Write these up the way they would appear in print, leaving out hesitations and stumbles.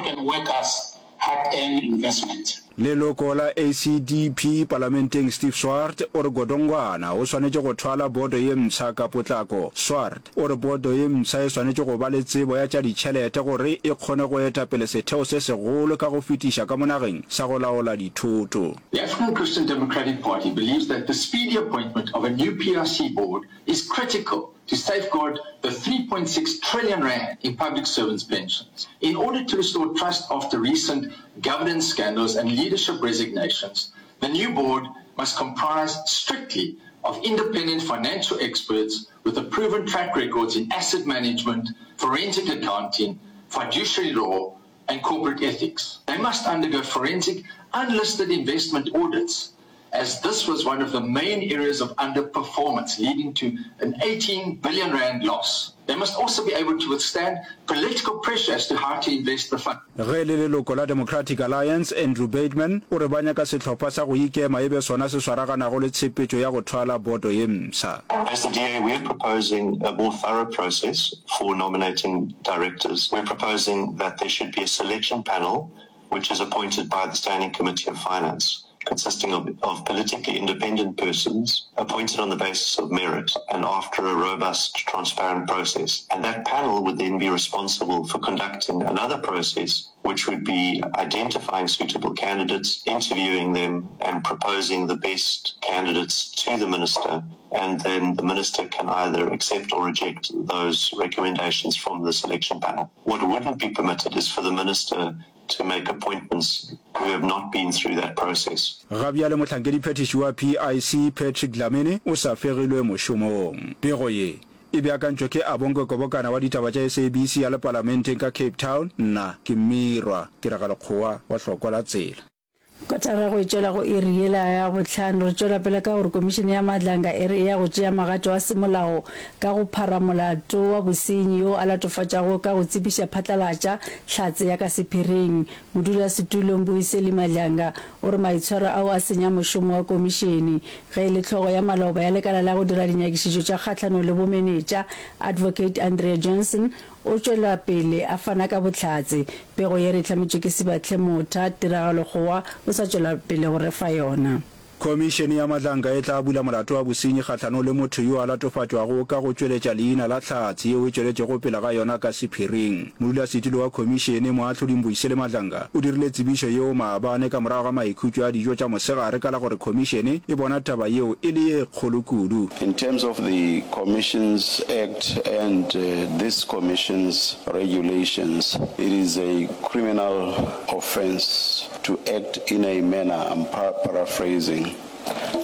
and workers' hard-earned investment. Leloko la ACDP palamenteng Steve Swart o re Godongwana o swanetše go thwala bodo ye mpsha ka potlako. Swart o re bodo ye mpsha e swanetše go ba le tsebo ya tša ditšhelete gore e kgone go eta pele setheo se segolo ka go fetiša ka mo nageng sa go laola dithoto. The African Christian Democratic Party believes that the speedy appointment of a new PIC board is critical to safeguard the 3.6 trillion rand in public servants' pensions. In order to restore trust after recent governance scandals and leadership resignations, the new board must comprise strictly of independent financial experts with a proven track records in asset management, forensic accounting, fiduciary law, and corporate ethics. They must undergo forensic unlisted investment audits as this was one of the main areas of underperformance, leading to an 18 billion rand loss. They must also be able to withstand political pressure as to how to invest the fund. Ge e le leloko la Democratic Alliance, Andrew Bateman, o re ba nyaka sehlopha sa go ikema e be sona se swaraganago le tshepetšo ya go thwala boto ye mpsha. As the DA, we are proposing a more thorough process for nominating directors. We're proposing that there should be a selection panel which is appointed by the Standing Committee of Finance, consisting of, of politically independent persons appointed on the basis of merit and after a robust, transparent process. And that panel would then be responsible for conducting another process which would be identifying suitable candidates, interviewing them, and proposing the best candidates to the minister. And then the minister can either accept or reject those recommendations from the selection panel. What wouldn't be permitted is for the minister to make appointments who have not been through that process. Ga bjale mohlankediphethiši wa PIC Patrick Dlamini o sa fegilwe mošomong. Pego ye e beakantšwe ke Abongwe Kobokana wa ditaba tša SABC ya le Palamenteng ka Cape Town. Nna ke Mmirwa Tiragalokgowa wa Hlokwa la Tsela. Kotara go e tšwela go iri yela ya bohlano. Re tšwela pele ka gore Komišene ya Madlanga e re e ya go tšea magato a semolao ka go phara molato wa bosenyi yo a latofatšago ka go tsebiša phatlalatša hlatse ya ka sephiring. Modulasetulo Mbuyiseli Madlanga o re maitshwaro ao a senya mošomo wa komišene. Ge e le hlogo ya maloba ya lekala la go dira dinyakišišo tša kgahlanong le bomenetša, Advocate Andrea Johnson, O tšwela pele a fana ka bohlatse. Pego ye re e hlametšwe ke Sibahle Motha, Tiragalo Kgowa o sa tšwela pele go re fa yona. Khomišene ya Madlanga e tla bula molato wa bosenyi kgahlanong le motho yo a latofatšwago ka go tšweletša leina la hlatse yeo e tšweletšego pele ga yona ka sephiring. Modulasetulo wa khomišene, Moahlodi Mbuyiseli Madlanga, o dirile tsebišo yeo maabane ka morago ga maikhutšo a dijo tša mosegare ka la gore khomišene e bona taba yeo e le ye kgolo kudu. In terms of the Commissions Act and this Commission's regulations, it is a criminal offence to act in a manner, I'm paraphrasing,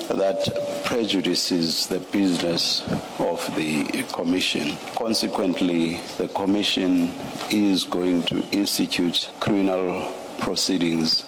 that prejudices the business of the Commission. Consequently, the Commission is going to institute criminal proceedings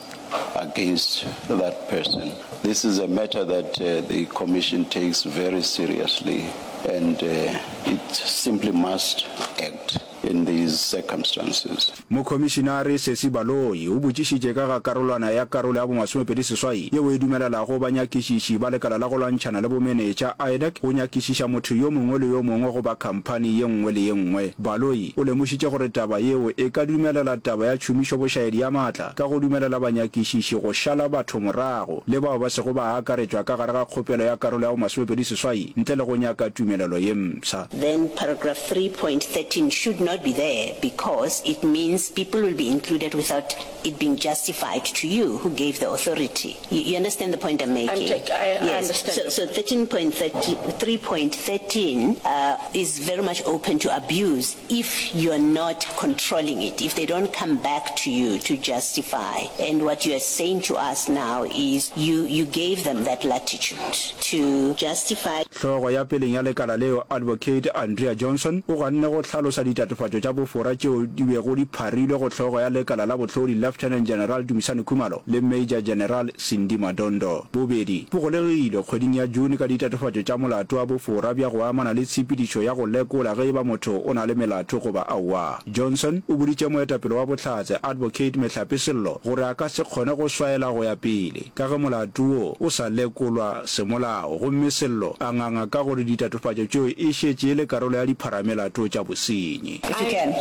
against that person. This is a matter that uh, the Commission takes very seriously and uh, it simply must act in these circumstances. Mokhomišinare Sesi Baloyi o botšišitše ka ga karolwana ya karolo ya bomasomepedi-seswai yeo e dumelelago banyakišiši ba lekala la go lwantšhana le bomenetša, IDAC, go nyakišiša motho yo mongwe le yo mongwe goba khamphani ye nngwe le ye nngwe. Baloyi o lemošitše gore taba yeo e ka dumelela taba ya tšhomišobošaedi ya maatla ka go dumelela banyakišiši go šala batho morago le bao ba sego ba akaretšwa ka gare ga kgopelo ya karolo ya bomasomepedi-seswai ntle le go nyaka tumelelo ye mpsha. Then paragraph 3.13 should not be there because it means people will be included without it being justified to you who gave the authority. You, you understand the point I'm making? I'm I, I yes. understand. So, so 13.3.13 uh, is very much open to abuse if you're not controlling it, if they don't come back to you to justify. And what you are saying to us now is you, you gave them that latitude to justify. Hlogo ya peleng ya lekala leo, Advocate Andrea Johnson, o ganne go hlalosa ditatofatšo tša bofora tšeo di bego di pharilwe go hlogo ya lekala la bohlodi Lieutenant General Dumisani Khumalo le Major General Sindi Madondo. Bobedi bo golegilwe kgweding ya June ka ditatofatšo tša molato wa bofora bja go amana le tshepedišo ya go lekola ge e ba motho o na le melato goba aowa. Johnson o boditše moetapele wa bohlatse Advocate Mehlape Sello gore a ka se kgone go swaela go ya pele ka ge molato wo o sa lekolwa semolao gomme Sello a nganga ka gore ditatofatšo tšeo e šetše e le karolo ya dipharamelato tša bosenyi. If you can.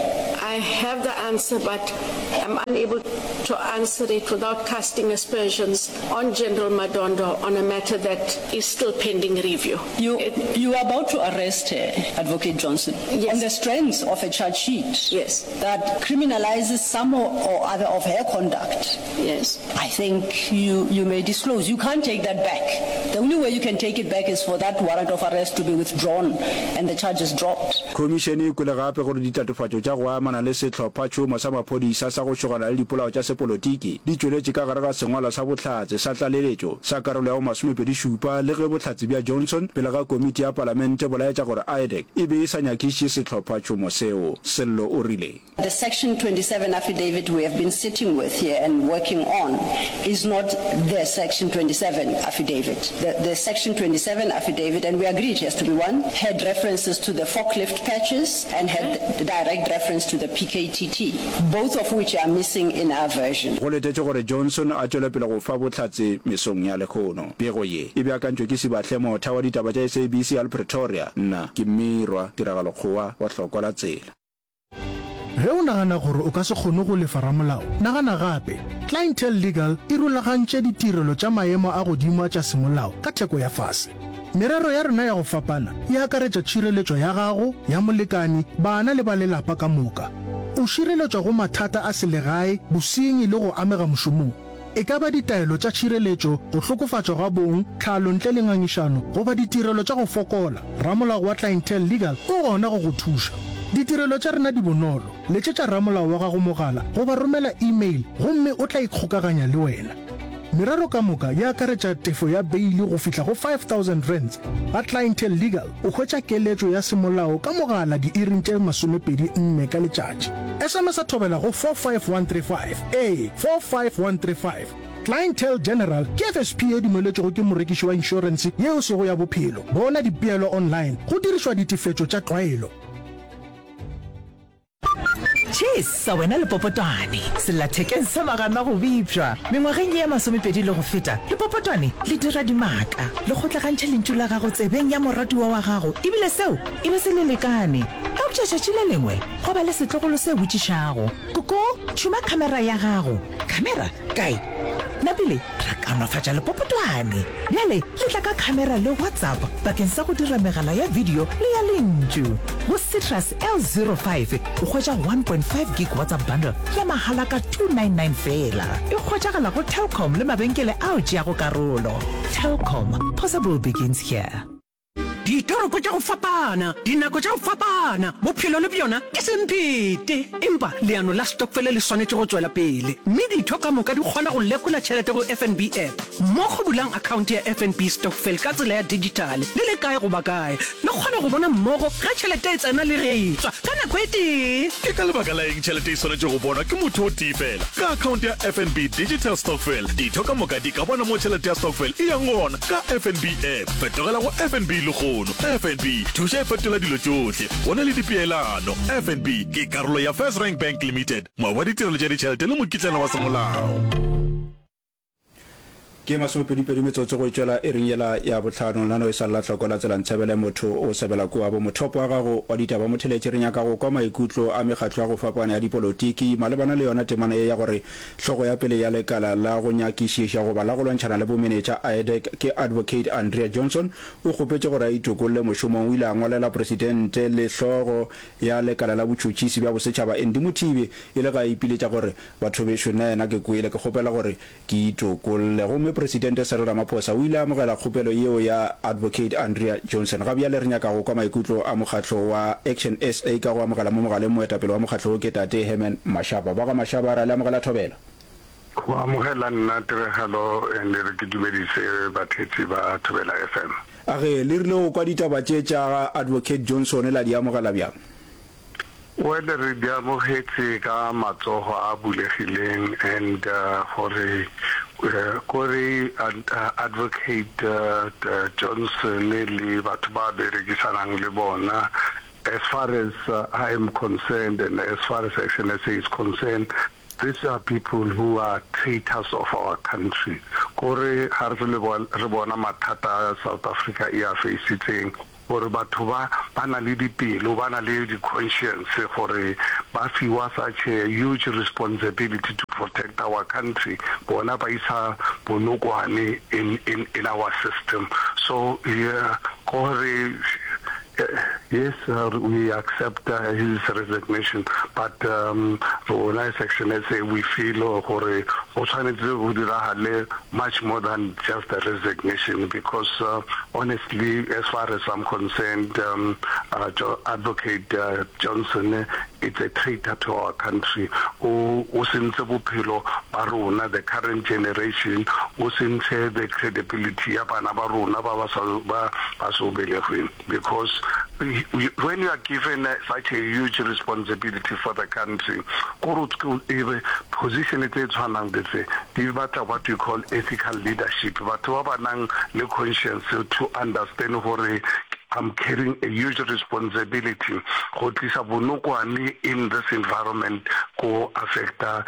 I have the answer, but I'm unable to answer it without casting aspersions on General Madondo on a matter that is still pending review. You, you are about to arrest her, Advocate Johnson, yes. on the strength of a charge sheet yes. that criminalizes some or, or other of her conduct. Yes. I think you, you may disclose. You can't take that back. The only way you can take it back is for that warrant of arrest to be withdrawn and the charges dropped. Khomišene e kwele gape gore ditatofatšo tša go amana le sehlophatšhomo sa maphodisa sa go šogana le dipolao tša sepolotiki di tšweletše ka gare ga sengwalwa sa bohlatse sa tlaleletšo sa karolo ya bo 27 le ge bohlatse bja Johnson pele ga komiti ya palamente bo laetša gore IDAC e be e sa nyakišiše sehlophatšhomo seo. Sello o rile. The section 27 affidavit we have been sitting with here and working on is not the section 27 affidavit. The, the section 27 affidavit, and we agreed it has to be one, had references to the forklift patches and had direct reference to the PKTT, both of which are missing in our version. Go letetšwe gore Johnson a tšwele pele go fa bohlatse mesong ya lehono. Pego ye e beakantšwe ke Sibahle Motha wa ditaba tša SABC al Pretoria. Nna ke Mmirwa Tiragalo Kgowa wa Hlokwa la Tsela. Ge o nagana gore o ka se kgone go lefa ramolao, nagana gape. Clientele Legal e rulagantše ditirelo tša maemo a godimo a tša semolao ka theko ya fase. Merero ya rena ya go fapana e akaretša tšhireletšo ya gago, ya molekani, bana le ba lelapa ka moka. O šireletšwa go mathata a selegae, bosenyi le go amega mošomong. E ka ba ditaelo tša tšhireletšo, go hlokofatšwa ga bong, tlhalo ntle le ngangišano, goba ditirelo tša go fokola, ramolao wa Clientele Legal o gona go go thuša. Ditirelo tša rena di bonolo, letšetša ramolao wa gago mogala goba romela e-mail gomme o tla ikgokaganya le wena. Merero ka moka e akaretša tefo ya beili go fihla go R5000. Ga Clientele Legal o hwetša keletšo ya semolao ka mogala diiring tše 24 ka letšatši. SMS-a thobela go 45135. Ee, 45135. Clientele General ke FSP ye dumeletšwego ke morekiši wa inšorense ye e sego ya bophelo. Bona dipeelo online go dirišwa ditefetšo tša tlwaelo. Chesa wena lepopotwane, sellathekeng sa magana go bipšwa. Mengwageng ye ya masomepedi le go feta, lepopotwane le dira dimaka, le kgotlagantšha lentšu la gago tsebeng ya moratiwa wa gago ebile seo e be se le lekane. Eupša tšatši le lengwe gwa ba le setlogolo se botšišago, Koko, tšhuma khamera ya gago. Khamera? Kae? Napile ra kaonafatša lepopotwane. Bjale le tla ka khamera le WhatsApp bakeng sa go dira megala ya video le ya lentšu. Go Citrus L05 o hwetša 1.5 gig WhatsApp bundle ya mahala ka 299 feela. E hwetšagala go Telkom le mabenkele ao tšeago karolo. Telkom, possible begins here. Ditoropo tša go fapana, dinako tša go fapana, bophelo le bjona ke semphete. Empa leano la stokfele le swanetše go tšwela pele, mme ditho ka moka di kgona go lekola tšhelete go FNB app. Mmogo bulang akhaonte ya FNB Stokvel ka tsela ya dijithale le le kae goba kae. Le kgona go bona mmogo ge tšhelete e tsena le ge e tšwa ka nako e tee. Ke ka lebaka la eng tšhelete e swanetše go bonwa ke motho o tee fela? Ka akhaonte ya FNB Digital Stokvel, ditho ka moka di ka bona mo tšhelete ya stokvel e yang gona ka FNB app. Fetogela go FNB lehono. FNB, thuša e fetola dilo tšohle. Go na le dipeelano. FNB ke karolo ya First Rank Bank Limited, moabi wa ditirelo tša ditšhelete le mokitlana wa semolao. Ke masomepedipedi metsotso go tšwela iring yela ya bohlano. Nano e sa lla hloko la tsela ntshebele motho o sebela kua bo mothopo wa gago wa ditaba motheletši. Re nyaka go kwa maikutlo a mekgatlo ya go fapana ya dipolotiki malebana le yona temana ye ya gore Hlogo ya pele ya lekala la go nyakišiša goba la go lwantšhana le bomenetša, IDAC, ke Advocate Andrea Johnson, o kgopetše gore a itokolle mošomong. O ile a ngwalela Presidente le hlogo ya lekala la botšhotšhisi bja bosetšhaba Andy Mothibi e le ge a ipiletša gore, Batho bešo, nnaena ke kwele, ke kgopela gore ke itokolle. Gomme Presidente Cyril Ramaphosa o ile a amogela kgopelo yeo ya Advocate Andrea Johnson. Ga bjale re nyaka go kwa maikutlo a mokgatlo wa Action SA ka go amogela mo mogaleng moetapele wa mokgatlo wo ke Tate Herman Mashaba. Ba ga Mashaba re a le amogela Thobela. Go amogela nna Tiragalo and re ke dumedise batheetsi ba Thobela FM. A ge le rile go kwa ditaba tše tša ga Advocate Johnson la di amogela bjang? Well re di amogetše ka matsogo a bulegileng and gore kore Advocate Johnson le batho ba berekisanang le bona as far as I am concerned and as far as Action SA is concerned these are people who are traitors of our country kore ga re re bona mathata a South Africa e a faisitseng gore batho ba. ba na le dipelo, ba na le di-conscience gore ba fiwa such a huge responsibility to protect our country, bona ba isa bonokwane in, in, in our system. So, yeah, gore yes, we accept his resignation, but um, rona as Action SA we feel gore go tshwanetse go diragale much more than just a resignation because uh, honestly, as far as I'm concerned, um, uh, Advocate uh, Johnson it's a traitor to our country. O o sentse bophelo ba rona, the current generation, o sentse the credibility ya bana ba rona ba ba sa ba ba so belegweng because when you are given such a huge responsibility for the country, gore o position tse tshwanang le tse di batla what you call ethical leadership, batho ba ba nang le conscience to understand gore I'm carrying a huge responsibility go tlisa bonokwane in this environment go affecta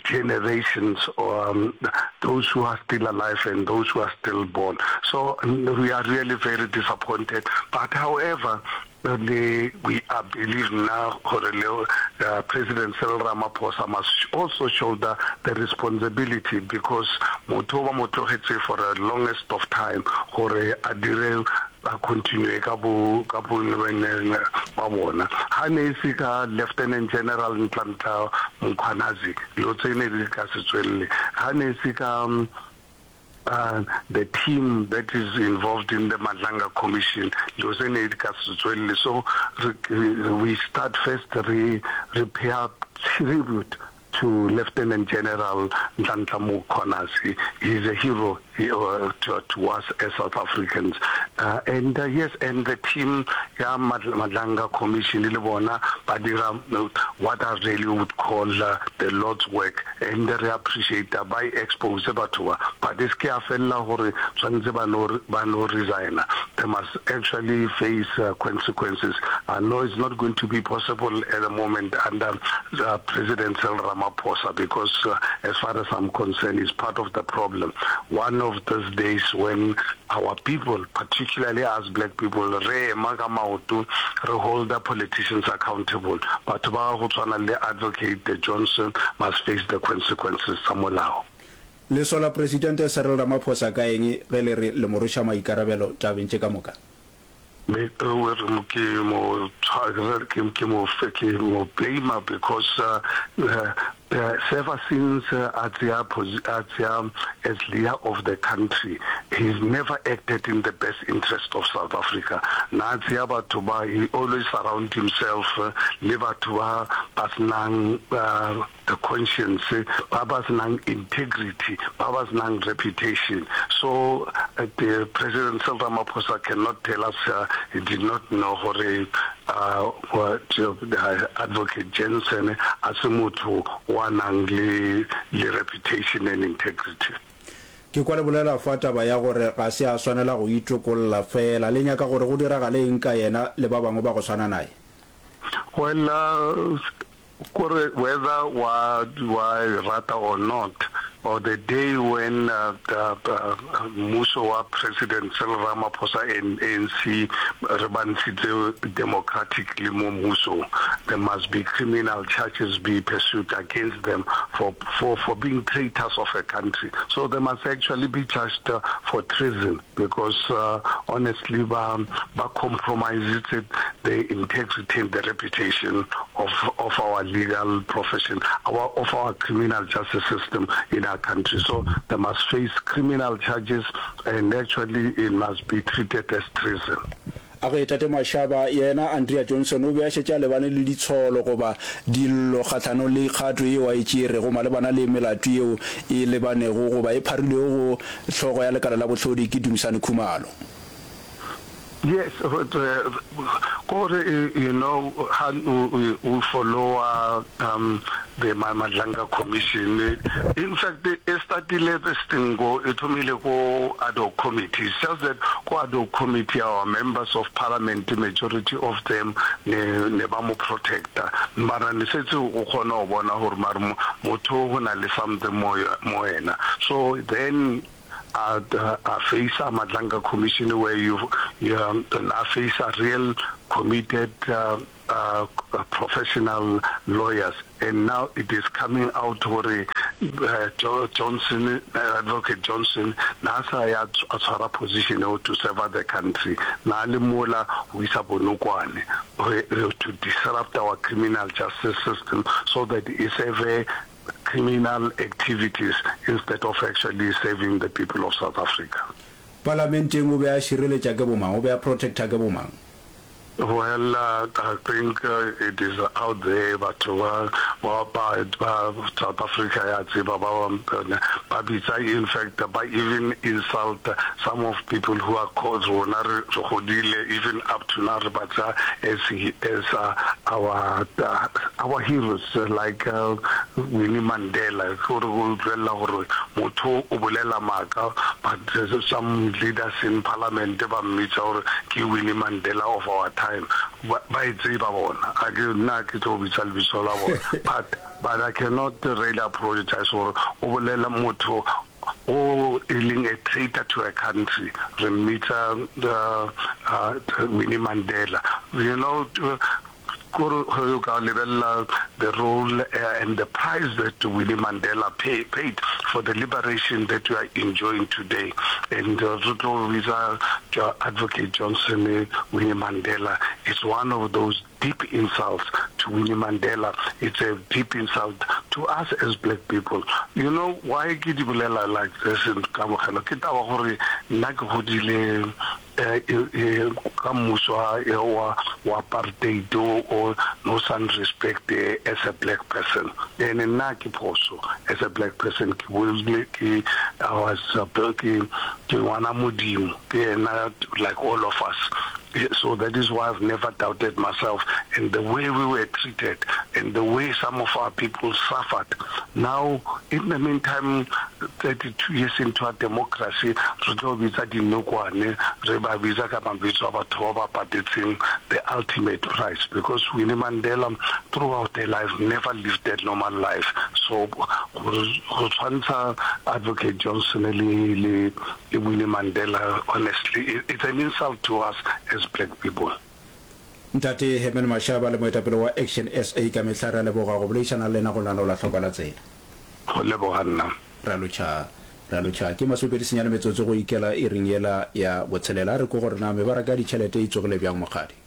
generations um, those who are still alive and those who are still born. So we are really very disappointed. But however, le we are believe nna gore le uh, President Cyril Ramaphosa must also shoulder the responsibility because motho ba mo tlogetse for the longest of time gore a dire a continue ka bo ka bo ba bona ha ne e se ka Lieutenant General Nhlanhla Mkhwanazi dilo tse ne di ka se tswelele ha ne e se ka uh, the team that is involved in the Madlanga Commission dilo tse ne di ka se tswelele so we start first re re pay tribute to Lieutenant General Nhlanhla Mkhwanazi. He's a hero uh, to, to us as South Africans. Uh, and uh, yes, and the team ya Madlanga Commission le bona ba dira uh, what I really would call uh, the Lord's work and re appreciate ba e expose batho ba but e se ke ya felela gore tshwanetse ba no ba no resigna. They must actually face uh, consequences. I know it's not going to be possible at the moment under uh, President Cyril Ramaphosa because uh, as far as I'm concerned, he's part of the problem. One of those days when our people, particularly us black people, re ema ka maoto, re hold the politicians accountable. Batho ba go tshwana le Advocate Johnson must face the consequences tsa molao. Le sola Presidente Cyril Ramaphosa ka eng ge le re le mo rweša maikarabelo tabeng tše ka moka? Me ke mo ke mo ke mo blame because ever since a tseya a tseya as leader of the country he's never acted in the best interest of South Africa. Na tseya batho ba he always surround himself le batho ba ba senang the conscience, ba ba senang integrity, ba ba senang reputation. So uh, the President Cyril Ramaphosa cannot tell us uh, he did not know gore uh, what, uh, Advocate Jensen a se motho wa nang le, le reputation and integrity. Ke kwa le bolela fa taba ya gore ga se a swanela go itokolla fela. Le nyaka gore go diragale eng ka yena le ba bangwe ba go swana naye? Well, uh, Kore whether wa wa e rata or not, or the day when mmuso wa President Cyril Ramaphosa and ANC re ba ntshitse democratically mo mmusong, there must be criminal charges be pursued against them for for for being traitors of a country. So they must actually be charged for treason. Because honestly ba ba compromisitse the integrity and the reputation of of our legal profession, our of our criminal justice system in our country. So they must face criminal charges and actually it must be treated as treason. A re Tate Mashaba, yena Andrea Johnson o be a šetše a lebane le ditsholo goba dillo kgahlanong le kgato yeo a e tšeerego malebana le melato yeo e lebanego goba e pharilwego go hlogo ya lekala la bohlodi ke Dumisani Khumalo. Yes, kore you know ha o followa um the Madlanga Commission in fact e startile this thing ko e thomile ko ad hoc committee it's just that ko ad hoc committee our members of parliament majority of them ne ne ba mo protecta mara ne setse o kgona go bona gore mare motho go na le something mo mo yena so then a a face-a Madlanga Commission where you, you um, a face-a real. committed uh, professional lawyers and now it is coming out gore uh, Johnson, uh, Advocate Johnson na sa ya a tshwara position eo to serve the country na le mola go isa bonokwane to disrupt our criminal justice system so that e serve criminal activities instead of actually serving the people of South Africa. Palamenteng o be a šireletša ke bomang? O be a protecta ke bomang? Well, I think it is out there, batho ba ba ba ba South Africa ya tseba ba ba bitsa in fact ba even insult some of people who are called rona re re godile even up to now re ba tsa as as uh, our uh, our heroes like uh, Winnie Mandela ke gore go utlwelela gore motho o bolela maaka but Some leaders in parliament ba mmitsa gore ke Winnie Mandela of our time. Ba ba e tseba bona. A ke nna ke tlo bitsa lebitso la bona. But but I cannot really apologize gore o bolela motho o e leng a traitor to a country. Re mmitsa uh, uh, Winnie Mandela. You know, Kore ge o ka lebelela the role and the price that Winnie Mandela pay, paid for the liberation that we are enjoying today, and re tlo bitsa Advocate Johnson Winnie Mandela, it's one of those deep insults to Winnie Mandela. It's a deep insult to us as black people. You know why ke di bolela like this, Kamogelo? Ke taba gore nna ke godile Ka mmuso wa wa apartheid o no sa nrespect as a black person and nna ke phoso as a black person ke bolile ke I was ke ke ngwana Modimo ke yena like all of us so that is why I've never doubted myself and the way we were treated and the way some of our people suffered now in the meantime 32 years into our democracy, re tlo bitsa dinokwane, re ba bitsa ka mabitso a batho ba ba patetseng the ultimate price because Winnie Mandela throughout her life never lived a normal life. So go tshwantsha Advocate Johnson le le le Winnie Mandela honestly it's an insult to us as black people. Ntate Herman Mashaba le moetapele wa Action SA ka mehla re a leboga go boledišana le lena go lenaneo la Hlokwa la Tsela. Go leboga nna. Re a lotšha, re a lotšha. Ke masomepedi senyane metsotso go ikela iring yela ya botshelela. A re kwe gore na mebaraka ya ditšhelete e tsogile bjang, Mokgadi.